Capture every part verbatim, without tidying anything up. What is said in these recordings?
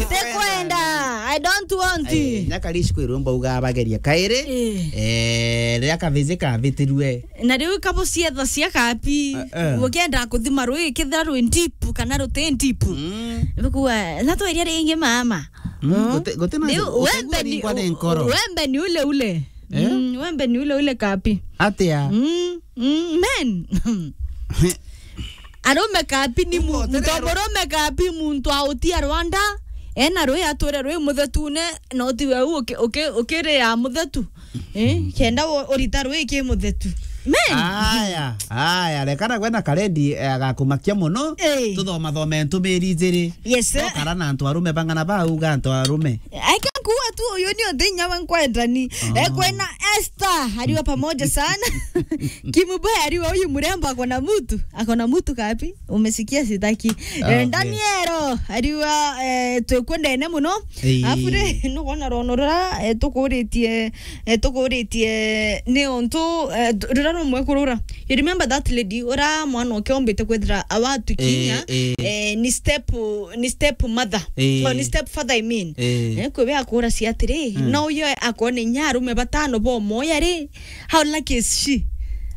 Tekwenda. I don't want. Ai, nyakarishi kwirwo mbauga bageria kairi. Eh. Eh, riria kabizi kabitirue. Na riu kabucietha cia kapi. Eh, eh. Ukienda kuthima rui, kethira rwi deep kana ruti deep. Mm. Bikuwa, na tweria ringi mama. Mm, mm. Guti, guti na riu, utegua wembe ni, ringwa ni nkoro. Wembe ni ule ule. Eh? Mm, wembe ni ule ule kapi. Atia? Mm, mm, men. Arume kapi ni mu-, ugotererwa. Muntu murume kapi muntu autia Rwanda, ena rui ature rui muthetune, no ti we u uki-, uki-, ukiria muthetu. Eh, kenda u-, urita rui ki muthetu. Men. Aya, aya, rekana gwe na Karendi, eh, agakumakia muno. Eh. Tuthoma thome ntumiri ijiri. Yes, sir. Twakara na antu arume bang'ana bauga antu arume. Aika kuwa tu uyu ni uthinya wa nkwendani. Ah. Eh, kwena Esther, aliwa pamoja sana. Kimuboya aliwa huyu mrembo ako na mtu. Ako na mtu kapi? Umesikia sitaki. Eh, okay. Danielo, aliwa, eh, tukwendene muno. Ii. Afu ri, nukwona rono rura, eh, tukuritie, eh, tukuritie ni untu, eh, tu-, rura rumwe kurura. You remember that lady, ura mwana uke ombite kwithira awatu kinya, eh, eh, ni step, ni step mother. Eh. Oh, ni step father, I mean. Eh. Eh, kwi we akuracia atiri, mm, no uyo akone inya arume batano bo moya ri, how lucky is she?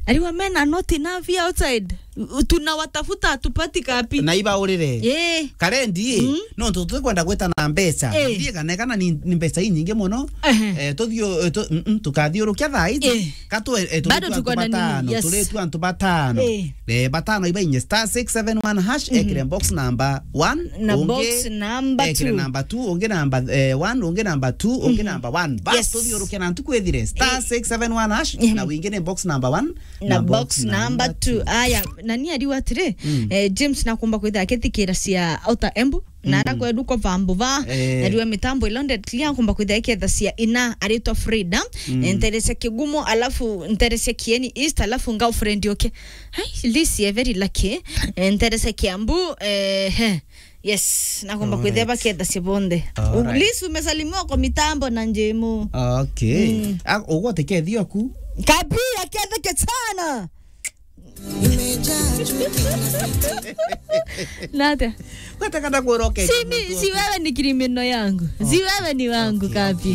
Aliwa men are not enough here outside. U-, tunawatafuta, hatupati kapi. Na ibaurire. Eh. Karendi, mm, nontu tutikwenda gwita na mbeca. Eh. Ndie kana, kana ni, ni mbeca inyingi muno. Ehe. Eh, tuthio, eh, tu-, mm, mm, tukathiurukia thaa iji. Eh. Ka tu, eh, bado tuko na nini? Yes. Turitu antu batano. Eh. Eh, batano ibainye star six seven one hash, mhm, ekire box number one, na ungi box number ekire two. Number two, ungi number, eh, one, ungi number two, ungi, mhm, number one. Bas, yes, tuthiurukia na ntuku ithire. Star six seven one hash, mhm, na wingi ni box number one. Na box number two. Aya, na ni ariu atiri, mm, eh, James nakumba kwithira akithikira cia Outer Embu, na, mm, ara kwedu kwa vambu va, eh, na riwa mitambo ilonded clear, akumba kwithira iketha cia ina, aritwa Frida, mm, eh, nterecia Kigumo, alafu nterecia Kieni East, alafu girlfriend yoke. Hai, Lisi, eh, very lucky. Eh, nterecia Kiambu, eh, he. Yes, nakumba kwithia baketha cia bonthe. Alright. Lisi, umesalimiwa kwa mitambo na Njemu. Okay. Mm. Ah, ugote kethio ku. Kapi akethe ketana. Nate. Wete kana kuroke. Si mi, si wewe ni criminal yangu. Si wewe ni wangu, okay, kapi.